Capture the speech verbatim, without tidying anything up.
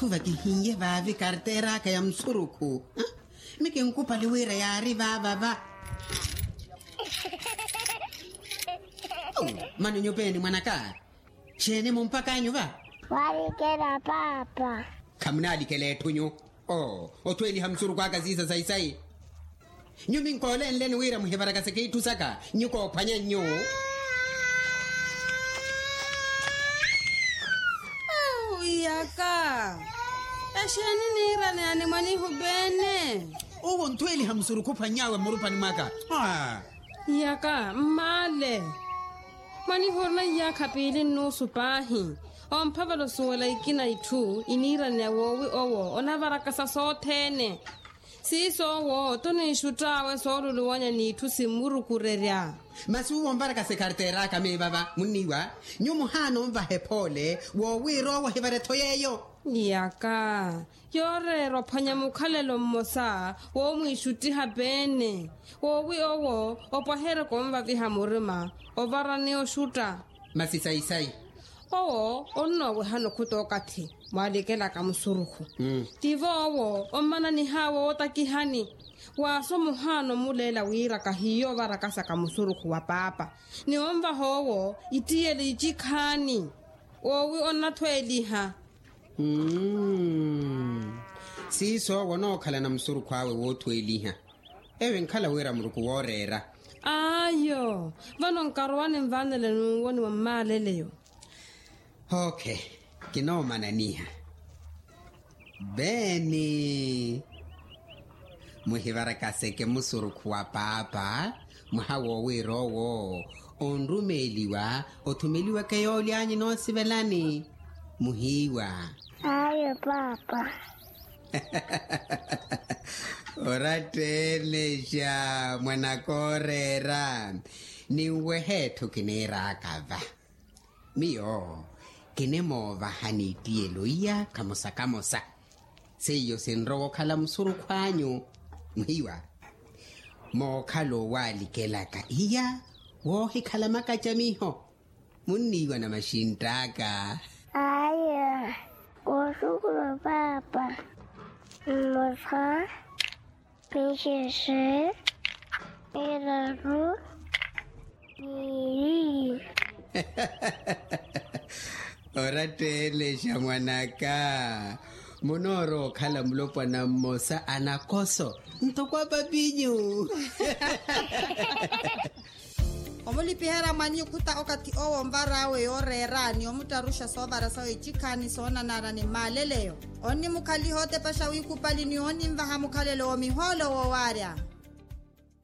Thuva kihiiye vaavi karteera aka ya musurukhu. Mikinkupali wira yaari vaavava. Mano nyupeeni mwanaka. Xeeni mumpaka anyu va? Waalikela paapa. Khamunaalikela etthu nyu. Oo, othweeliha musurukhu aka siisa sayi-sayi. Nyu minkoolenleni wira muhivarakaseke itthu saka. Nyu koophwanya nyu. Au iyaka. Exeeni niirane ani mwanihu beene? Uwo nthweeliha musurukhu ophwany'awe mmurupani mwaka. Iyaka mmaale. Mwanihu orina iyaakha piili nnuusu paahi. Omphavela osuwela ikina itthu iniiraneya woowi owo onavarakasa sothene. Siiso owo tuniixutt'awe sooluluwanya n'itthu simmurukurerya. Masi uwo onvarakasa ekarteera aka meevava munniiwa. Nyu muhaana onvaha ephoole woowiira owo ohivare-tho yeeyo. Iyaka. Yooreera ophwanya mukhalelo mmosa woomwiixuttiha peene. Woowi owo opwaherye konvaviha murima ovarani oxutta. Masi sayi-sayi. Owo onnoowehana okhuta okathi mwaalikelaka musurukhu. Tivo owo ommananih'awe ootakihani. Waaso muhaana omuleela wira kahiiya ovarakasaka musurukhu wa paapa ni onvaha owo ittiyele icikhaani. Woowi onnathweeliha. Siiso owo onookhalana musurukhu awe woothweeliha. Eyo enkhala wira muruku wooreera. Ayo. Vano nkarowa ninvanele nuuwoniwa mmaaleleyo. Oke. Kinoomananiha. Beeni. Muhivarakaseke musurukhu wa paapa. Mwaha woowiira owo onrumeeliwa othumeliweke yoolyaanyu noosivelani. Muhiiwa. Ayo paapa. Oratteenexa mwanakooreera. Ninwehe etthu kiniiraaka va. Miyo kinimoovahani ittiyelo iya kamosa kamosa. Seiyo sinrowa okhala musurukhu anyu. Muhiiwa. Mookhala owalikelaka iya woohikhala makacamiho. Munniiwa na maxintt'aka. Aya. Koosukhula paapa. Mmosa. Pixexe. Miraru. Miili. Oratteenexa mwanaka. Munoorowa okhala mulopwana mmosa anakoso ntoko apapinyu. Omulipiherya mwanyu okhuta okathi owo onvar'awe yooreera ni omuttaruxa soovara sawe icikhaani soonanara ni mmaaleleyo. Onnimukhaliha otepexa wiikupali ni oninvaha mukhalelo w'omihoolo woowaarya.